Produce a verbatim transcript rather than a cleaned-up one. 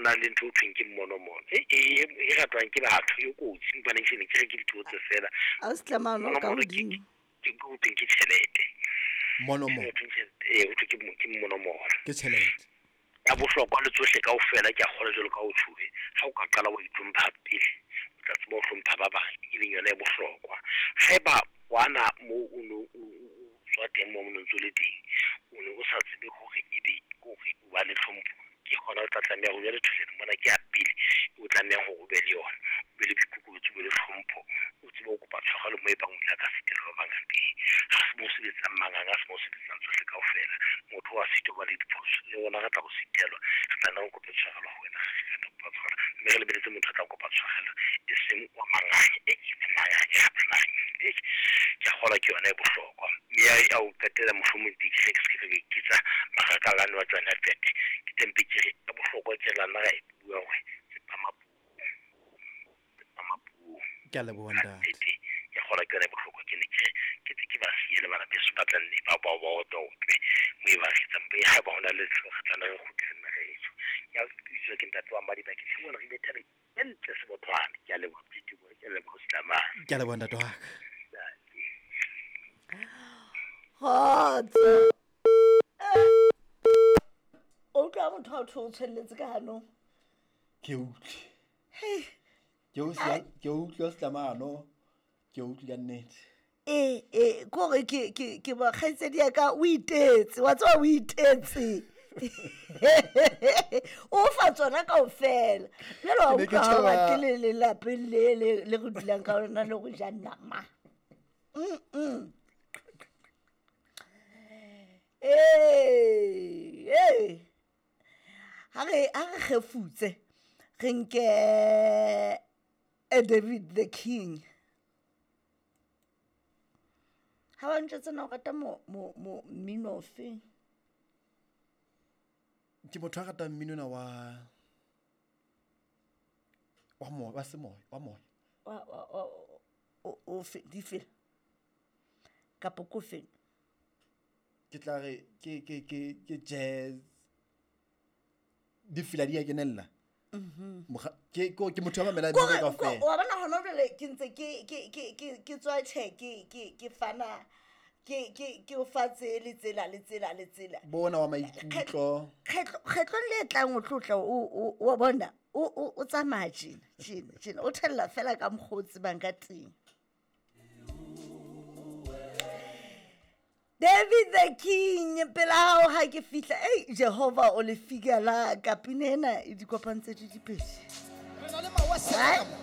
na le ntho o thweng ke mmonomono e e e ratwang ke batho e kotsi mpaneng ke ne ke re ke dithuo tse fela a se tlamano ka Mmonomono ke hodimo ke ke ho thweng ke tjhelete monomono Ho thweng tjhelete ee ho thwe ke mo- ke mmonomono ke tjhelete ya bohlokwa le tsohle kaofela ke a kgolwa jwalo ka o tjhuwe ha o ka qala wa itlhompha pele o tla tseba ho hlompha ba bang e leng yona e bohlokwa haeba wana moo o no o o- o tswa teng moo o no ntso le teng o ne o sa tsebe hore ebe hore o ba le tlhompho ke hona o tla tlameha ho jwale thuseng mona ke ya pele o tlamehang hore o be le yona o be le boikokobetso o be le tlhompho o tsebe ho kopa tshwarelo moo e bang o tla ka sitelwa ba bang teng ha se mo sebetsang manganga ha se mo sebetsang tsohle kaofela motho wa sitwa ba le diphoso le rona re tla go sitelwa re tla nna re kope tshwarelo ho wena re tla kopa tshwarelo mme re lebeletse motho a tla kopa tshwarelo e seng wa manganga e ke manganga a manganga e ke a kgolwa ke yona e bohlokwa mme ya ya ho qetela mohlomong teng ke re ke se ke ka iketsa marakalane wa tsona fete ke tempe ke re ya bohlokwa ke la nna ra e bua hore tsepama puong tsepama puong ke a leboha ntate nnete ke a kgolwa ke yona e bohlokwa ke ne ke re ke tse ke ba siye le bana beso ba tla nne ba ba ba otlwe otlwe mo e ba kgetsang be haeba ho na le re tla nna re kgutle nna re etsho ke a utlwiswa ke ntate wa Madiba ke tlhe bona re ile thabeng e ntle sebothwane ke a leboha Phetibo ke a leboha Slamane ke a leboha ntate wa ka kgotso Eh. o utlwa motho a tho o tshwelletse ka hanong ke utlwe hei ke o sia- ke utlwe setlamano ke utlwe ka nnete ee ee ke gore ke ke ke ba kgaitsedi ya ka o itetse wa tseba o itetse o fa tsona kaofela jale wa Ke ne ke utlwa ha o tjheba- batle le lelapeng le le le re dulang ka lona le go ja nama Mm-mm. ee ee ha re ha re kgefutse re nke eh, David the King ha ba ntjwetsa na o rata mo mo mo mmino ofeng ke motho a ratang mmino ona wa wa moya wa semoya wa moya wa wa wa o o fe difela kapa ko feng ke tla re ke ke ke ke jazz difela di a kenella Mokga- ke ko- ke motho a mamelang mmino Kore- ko- kaofela wa bona hona jwale ke ntse ke ke ke ke ke tswa tjhe ke ke ke fana ke ke ke o fa tse le tsela le tsela le tsela bona wa maikutlo kgetlo kgetlong le tlang o tlo tla o o wa bona o o o tsamaya tjena tjena tjena o thella fela ka mokgwa o tsebang ka teng David the King pela hao ha ke fihla ei Jehova o le fika la ka pina ena e di kopantse di dipedi Re na le mawaseka mo.